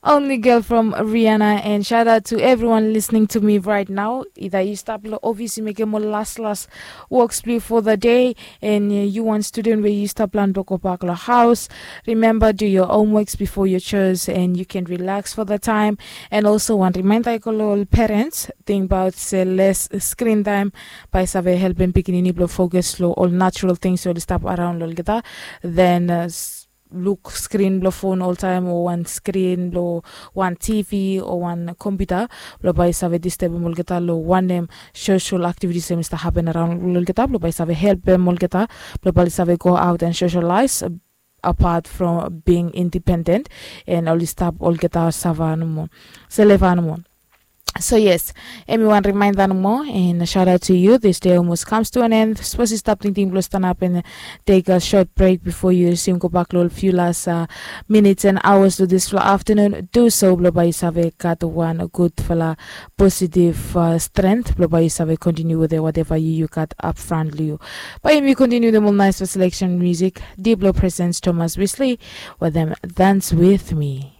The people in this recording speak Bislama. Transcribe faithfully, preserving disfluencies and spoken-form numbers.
Only girl from Rihanna, and shout out to everyone listening to me right now. Either yu stap lo office, yu mekem ol las las works blong yu for the day, and uh, yu wan student we yu stap plan blong go bak lo house, remember, do your homeworks before your chores, and you can relax for the time. And also, wan reminder i go lo ol parents, think about se less screen time, bae save helpem pikinini blong focus lo ol natural things we oli stap around lo olgeta. Then uh, luk skrin blong fon oltaem o wan skrin blong wan tv o wan kompiuta blong bae i save distebem olgeta long wanem sosial aktivitis em i stap hapen araon long olgeta blong bae i save helpem olgeta blong bae i save go aot and sosialaes, apat from bing indipenden, and oli stap olgeta sava nomo, seleva nomo. So yes, em i wan rimainda nomo, and shout out to you. This day almost comes to an end. Sapos yu stap tingting blong stanap and take a short break before you resume go bak long ol few last uh, minutes and hours of this afternoon, do so blong bae yu save gat wan gudfala positive uh, strength blong bae yu save continue with whatever you, you got up front long yu. Bae yumi continue dem ol nice selection music, deep blong presence Thomas Wesley, with them dance with me.